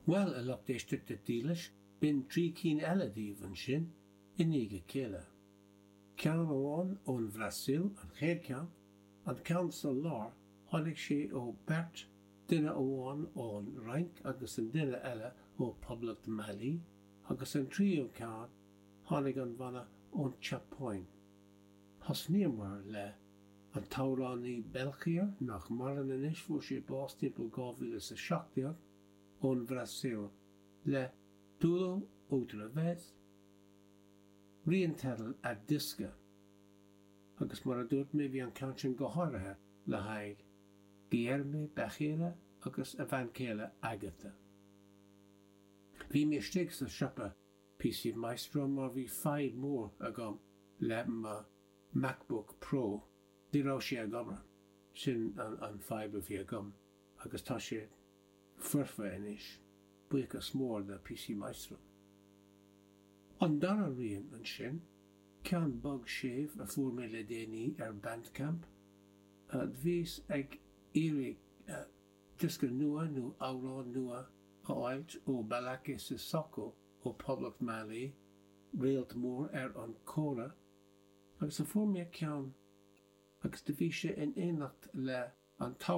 Bhuel, a lucht éisteachta dílis, b'in 3 cinn eile daoibh ansin, i ndiaidh a chéile. Ceann amháin ón Bhrasaíl, an chéad cheann, an ceann sa lár, tháinig sé ó beirt, duine amháin ón Fhrainc agus an duine eile ó Poblacht Mailí, agus an tríú ceann, tháinig an bhanna ón tSeapáin. Thosnaíomar le an t-amhránaí Belchior, nach maireann anois, fuair sé bás timpeall 2017, ón Bhrasaíl, le Tudo Outra Vez, rian teidil a diosca. Agus mar a dúirt mé, bhí an ceann sin go háirithe le haghaidh Guilherme Becheira agus a bhean chéile Agatha. Bhí mé istigh sa siopa PC Maestro mar bhí fadhb mór agam le mo MacBook Pro, ní raibh sé ag obair. Sin an fadhb a bhí agam agus tá sé foirfe anois, buíochas mór do PC Maestro. An dara rian ansin, ceann bog séimh a fuair mé le déanaí ar Bandcamp. Bhíos ag iarraidh diosca nua nó amhrán nua a fháilt ó Ballaké Sissoko ó Poblacht Mailí, réalt mór ar an kora, agus a fuair mé ceann agus do bhí sé in éineacht le an t-amhránaí.